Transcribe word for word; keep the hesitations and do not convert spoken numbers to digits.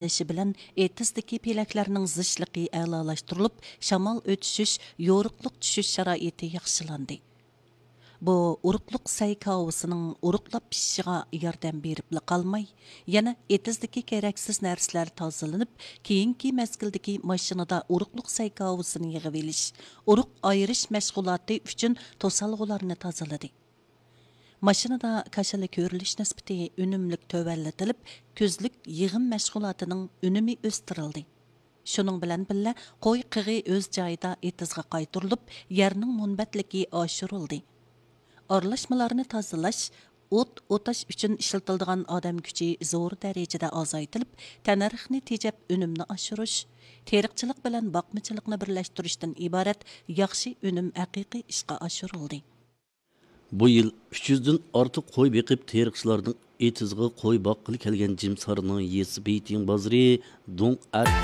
ئېچىلىشى بىلەن ئېتىزدىكى پېلەكلەرنىڭ زىچلىقى ئەلالاشتۇرۇلۇپ، شامال ئۆتۈشۈش، يورۇقلۇق چۈشۈش شارائىتى ياخشىلاندى. بۇ ئۇرۇقلۇق سەي كاۋىسىنىڭ ئۇرۇقلاپ پىشىشىغا ياردەم بېرىپلا قالماي، يەنە ئېتىزدىكى كېرەكسىز نەرسىلەر تازىلىنىپ، كېيىنكى مەزگىلدىكى ماشىنىدا ئۇرۇقلۇق سەي كاۋىسىنى يىغىۋېلىش، ئۇرۇق ئايرىش مەشغۇلاتى ئۈچۈن توسالغۇلارنى تازىلىدى. ماشىنىدا كاشىلا كۆرۈلۈش نىسبىتى ئۈنۈملۈك تۆۋەنلىتىلىپ، كۈزلۈك يىغىم مەشغۇلاتىنىڭ ئۈنۈمى ئۆستۈرۈلدى. شۇنىڭ بىلەن بىللە، قوي قېغى ئۆز جايىدا ئېتىزغا قايتۇرۇلۇپ، يەرنىڭ مۇنبەتلىكى ئاشۇرۇلدى. ئارىلاشمىلارنى تازىلاش، ئوت ئوتاش ئۈچۈن ئىشلىتىلىدىغان ئادەم كۈچى زور دەرىجىدە ئازايتىلىپ، تەننەرخنى تېجەپ، ئۈنۈمنى ئاشۇرۇش، تېرىقچىلىق بىلەن باقمىچىلىقنى بىرلەشتۈرۈشتىن ئىبارەت ياخشى ئۈنۈم ھەقىقىي ئىشقا ئاشۇرۇلدى. بۇ يىل ئۈچ يۈزدىن ئارتۇق قوي بېقىپ، تېرىقچىلارنىڭ ئېتىزغا قوي باققىلى كەلگەن جىمسارنىڭ يېسى بېيتىڭ بازىرى دۇڭ ئەر